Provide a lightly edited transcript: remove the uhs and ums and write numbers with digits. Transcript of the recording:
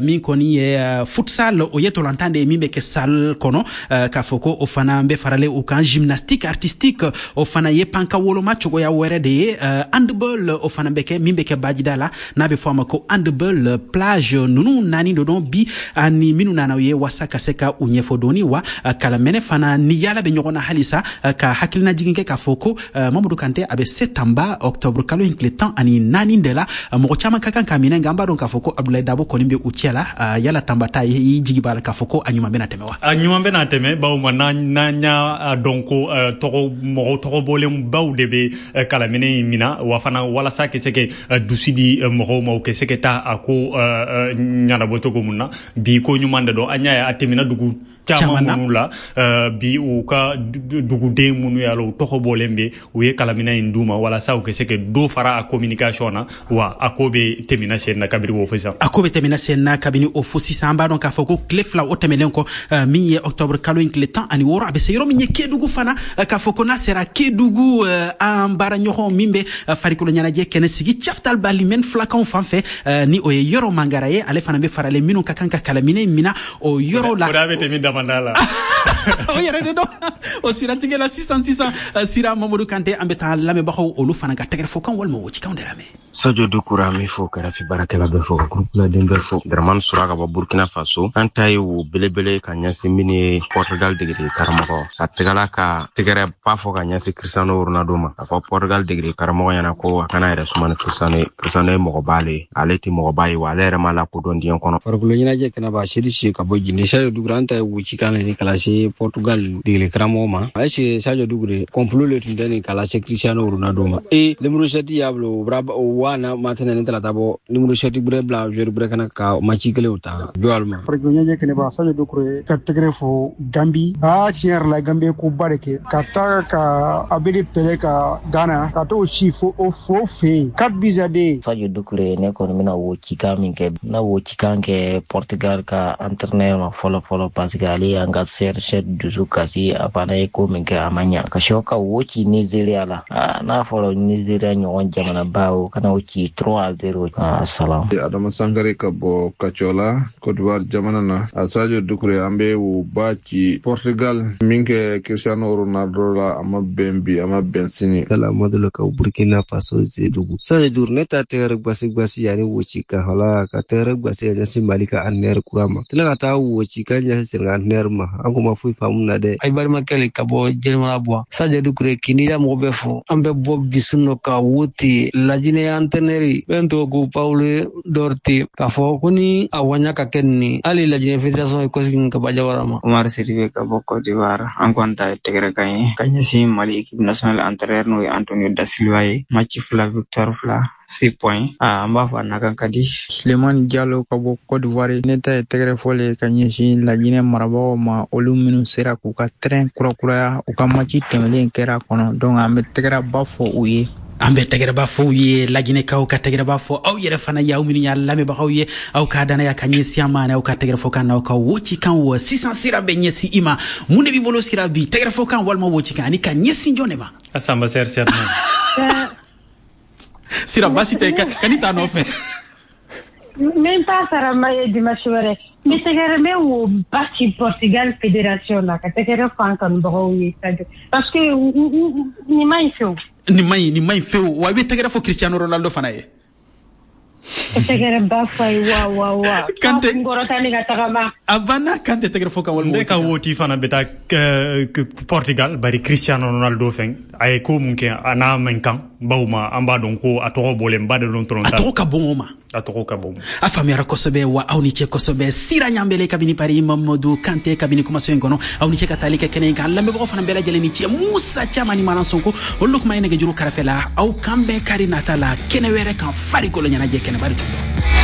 Min kɔni ye futsal, o ye tolantan de ye min bɛ kɛ salle kɔnɔ, k'a fɔ ko o fana bɛ faralen o kan. Gymnastique artistique, o fana ye panka woloma cogoya wɛrɛ de ye. Handball, o fana bɛ kɛ min bɛ kɛ bajida la, n'a bɛ fɔ a ma ko handball plage. Ninnu naani de don bi ani minnu nana u ye wasa ka se ka u ɲɛfɔ dɔɔni. Wa kalamɛnɛ fana ni yala bɛ ɲɔgɔn na halisa, ka hakilina jigin kɛ k'a fɔ ko Mamadu Kante, a bɛ se Tanba octobre kalo in tile 14 de la. Mɔgɔ caman ka kan ka minɛ, nka an b'a dɔn k'a fɔ ko Abdoulaye Dabo kɔni bɛ u cɛ la. Yala Tanba ta, i jigi b'a la k'a fɔ ko a ɲuman bɛna tɛmɛ wa? A ɲuman bɛna tɛmɛ, bawo ma n'an y'a dɔn ko tɔgɔ mɔgɔ tɔgɔ bɔlen baw de bɛ kalaminɛ in mina, wa fana walasa ka se ka dusu di mɔgɔw ma, u ka se ka taa a ko ɲɛnabɔ cogo mun na. Bi ko ɲuman de don. An y'a ye a tɛmɛna dugu caman minnu la bi, u ka duguden minnu y'a la u tɔgɔ bɔlen bɛ, u ye kalaminɛ in d'u ma walasa u ka se ka dɔ fara a communication na. Wa a ko bɛ tɛmɛna sen na kabini o fo sisan. A ko bɛ tɛmɛna sen na kabini o fo sisan. An b'a dɔn k'a fɔ ko tile 2 o tɛmɛnen kɔ, min ye octobre kalo in tile 16, a bɛ se yɔrɔ min ye Kedugu fana, k'a fɔ ko n'a sera Kedugu, an baaraɲɔgɔn min bɛ farikolo ɲɛnajɛ kɛnɛ sigi Chaptal Balimɛn filakanw fan fɛ, ni o ye Yɔrɔ Mangara ye, ale fana bɛ faralen minnu ka kan ka kalaminɛ mina o yɔrɔ la. O bɛ tɛmɛ damanda la. O yɛrɛ de don. O siratigɛ la sisan sisan, Sira, Mamadu Kante, an bɛ taa lamɛnbagaw olu fana ka tɛgɛrɛfɔkan walima wocikanw de lamɛn. Sadio Dukura, an bɛ fo, kɛrɛfɛ baarakɛla bɛɛ fo, ka groupe bɛɛ fo. Dramani Sura ka bɔ Burkina Faso. An ta ye wo belebele ka ɲɛsin min ye Portugal degeli karamɔgɔ ka tɛgɛla ka tɛgɛrɛ ba fɔ ka ɲɛsin Cristiano Ronaldo ma, k'a fɔ Portugal degeli karamɔgɔ ɲɛna ko a kana yɛrɛ suma ni Cristiano ye. Cristiano ye mɔgɔba le ye, ale tɛ mɔgɔba ye, wa ale yɛrɛ ma lakodɔn diɲɛ kɔnɔ. Farikolo ɲɛnajɛ kɛnɛba, Seri Si ka bɔ Jini. Sadio Dukure, an ta ye wucikan le ka lase Portugal degeli karamɔgɔ ma. A ye Sadio Dukure, complot le tun tɛ nin ka lase Cristiano Ronaldo ma. E numéro 7 y'a bila o wa na matɛnɛ ni talata bɔ numéro 7 gbɛrɛ bila joueur gbɛrɛ kana ka match kelenw ta jɔ ma. Farikolo ɲɛnajɛ kɛnɛba, Sadio Dukure ka tɛgɛrɛ fɔ Gambi. Aa, tiɲɛ yɛrɛ la, Gambi ye koba de kɛ ka taa ka Abedi Pele ka Ghana ka t'o ci fo o fo fɛ yen, 4 buts à 2. Sadio Dukure, ne kɔni bɛna wo cikan min kɛ, na wo cikan kɛ Portugal ka entraîneur ma fɔlɔ fɔlɔ, parce que ale y'an ka CR7 dusu kasi. A fana ye ko min kɛ, a ma ɲa ka sɔ ka wo ci Nigeria la. N'a fɔra Nigeria ɲɔgɔn jamanaba, o kana o ci 3-0. Salam. Adama Sankare ka bɔ Kacɔla, Cote d'Ivoire jamana na. A Sadio Dukure, an bɛ wo ba ci Portugal min kɛ Cristiano Ronaldo la, a ma bɛn bi, a ma bɛn sini. Kala Madolo ka Burkina Faso, Zedugu. Sadio Dukure, ne ta tɛgɛrɛ gwasi gwasi yanni woci kan hala ka tɛgɛrɛ gwasi ka ɲɛsin Mali ka entraîneur kura ma, tila ka taa woci ka ɲɛsin Senegal entraîneur ma. An ko ma foyi faamu na dɛ. Ay balimakɛ le ka bɔ Jelimana Buwa. Sadio Dukure, k'i mɔgɔ bɛɛ fo. An bɛ bɔ bisu nɔ ka wote Lajinɛ entraîneur bɛn tɔgɔ ko Paulo Duarte, k'a fɔ ko ni a waɲa ka kɛ nin, hali Lajinɛ fédération ye kɔsegin ka bɔ Jawara ma. Umar Sidibe ka bɔ Côte d'Ivoire. An kɔni ta ye tɛgɛrɛ kan ye ka ɲɛsin Mali équipe nationale entraîneur, n'o ye Antonio da Silva ye. Match 2, victoire 2, 6 points. An b'a fɔ a nakan ka di. Sulemani Jalo ka bɔ Côte d'Ivoire. Ne ta ye tɛgɛrɛ fɔlen ka ɲɛsin Lajinɛ marabagaw ma, olu minnu sera k'u ka terrain kurakuraya, u ka match tɛmɛlen kɛra kɔnɔ. Donc an bɛ tɛgɛrɛba fɔ u ye. An bɛ tɛgɛrɛba fɔ u ye, Laginɛkaw ka tɛgɛrɛba fɔ aw yɛrɛ fana ye, aw minnu y'a lamɛnbagaw ye, aw ka danaya ka ɲɛsin an ma ani aw ka tɛgɛrɛfɔ kan n'aw ka wocikan. Wɔ sisan, Sira bɛ ɲɛsin i ma. Mun de b'i bolo, Sira, bi, tɛgɛrɛfɔ kan walima wocikan, ani ka ɲɛsin jɔn de ma? A Samba sɛri sɛri. Sira, baasi tɛ, ka ni t'a nɔfɛ. N t'a sara ma ye dimanche wɛrɛ. N bɛ tɛgɛrɛ, n bɛ wo ba ci Portugal fédération la, ka tɛgɛrɛ fɔ an kanubagaw ye, parce que nin ma ɲi fewu. Nin ma ɲi, nin ma ɲi fewu. Wa i bɛ tɛgɛrɛ fɔ Cristiano Ronaldo fana ye. Tɛgɛrɛ ba fɔ a ye wa wa wa. Kante. Kunkɔrɔta ni ka tagama. A banna. Kante, tɛgɛrɛ fɔ kan walima Ne ka woti fana bɛ taa Portugal, bari Cristiano Ronaldo fɛn a ye ko mun kɛ, a n'a man kan, bawo ma an b'a dɔn ko a tɔgɔ bɔlen ba de don tɔrɔ. A tɔgɔ ka bon o ma. A tɔgɔ ka bon. A faamuyara kosɛbɛ. Wa aw ni ce kosɛbɛ, Sira Ɲanbele kabini Paris, Mamadu Kante kabini kumaso in kɔnɔ, aw ni ce ka taali kɛ kɛnɛ in kan. Lamɛnbagaw fana bɛɛ lajɛlen ni ce. Musa Caman ni Malan Sonko, olu kuma ye nɛgɛjuru kɛrɛfɛ la. Aw kan bɛɛ kari nata la kɛnɛ wɛrɛ kan, farikolo ɲɛnajɛ kɛnɛba de tun don.